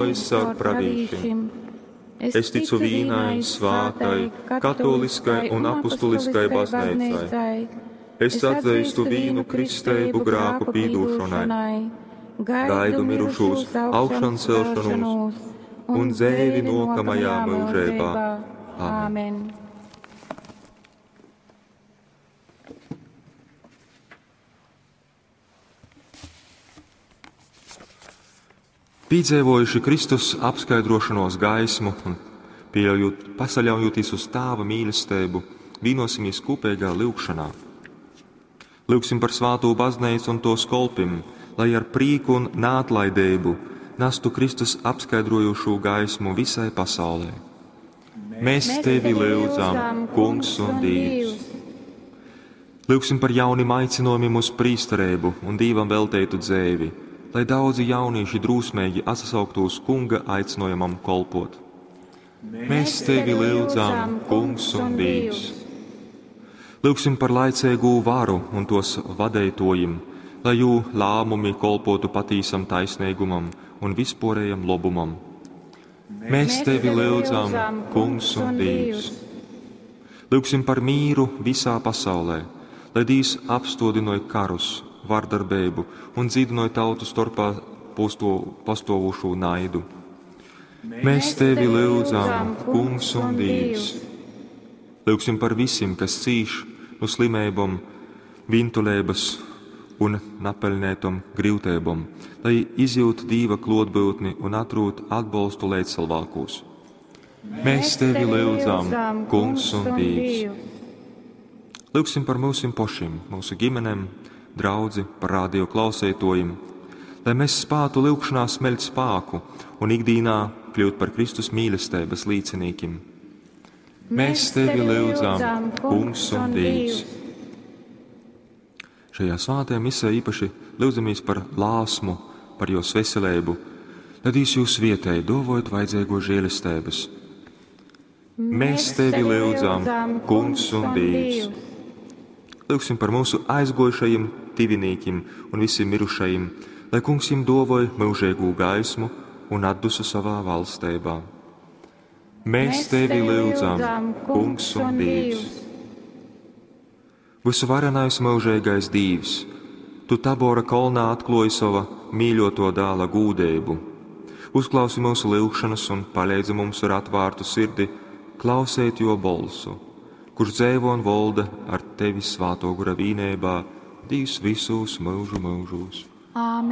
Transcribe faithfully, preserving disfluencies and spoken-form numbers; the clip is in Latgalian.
caur pravīšim. Es ticu vīnai svātai, katoliskai un apustuliskai bazneicai. Es atzīstu vīnu kristeibu grāku pīdūšonai, gaidu mirušūs augšancelšanos un dzeivi nākamajā mūžībā. Āmen. Piedzīvojuši Kristus apskaidrošanos gaismu un pieļaujot, pasaļaujoties uz Tāva mīlestību, vienosimies kopīgā lūgšanā. Lūgsim par svāto baznīcu un tos kolpim, lai ar prieku un neatlaidību nestu Kristus apskaidrojošo gaismu visai pasaulē. Mēs tevi lūdzam, Kungs un Dievs! Lūgsim par jaunim aicinājumiem uz prīsterību un Dievam veltētu dzēvi, lai daudzi jaunieši drūsmīgi atsauktos Kunga aicinājumam kolpot. Mēs tevi lūdzam, Kungs un Dievs! Lūgsim par laicīgu varu un tos vadītojiem, lai jū lēmumi kolpotu patīsam taisnīgumam un vispārējam lobumam. Mēs tevi lūdzam, Kungs un Dievs! Lūgsim par mīru visā pasaulē, lai Dievs apstodinoja karus, vardarbību un dzīdinoja tautu starpā pastovošo naidu. Mēs tevi lūdzam, Kungs un Dievs! Lūgsim par visiem, kas cīš no slimībām, vintulības un napelnētom grūtībām, lai izjūt Dieva klotbūtni un atrūt atbalstu līdzcilvēkos. Mēs tevi lūdzam, Kungs un Dievs! Lūgsim par mūsim pašiem, mūsu ģimenēm, draudzi, par radio klausētojiem, lai mēs spātu lūgšanā smeļt spāku un ikdīnā kļūt par Kristus mīlestības līdzinīkim. Mēs tevi lūdzam, Kungs un Dievs! Šajā svētajā misē īpaši lūdzamies par lāsmu, par jos veselību, lai Dievs jūs vietēji dovojot vajadzīgo žēlestības. Mēs tevi lūdzam, Kungs un Dievs! Lūgsim par mūsu aizgojušajiem tivinīkim un visiem mirušajiem, lai Kungs jiem dovoj mūžīgu gaismu un atdusu savā valstībā. Mēs tevi lūdzam, Kungs un Dievs! Visuvarenais mūžīgais Dievs, tu Tabora kolnā atklāji sava mīļoto dēla gūdību. Uzklausi mūsu lūgšanas un palīdzi mums ar atvērtu sirdi klausēt jo bolsu, kurš dzēvo un volda ar tevi svāto gura vīnībā, Dievs visos mūžu mūžos. Āmen.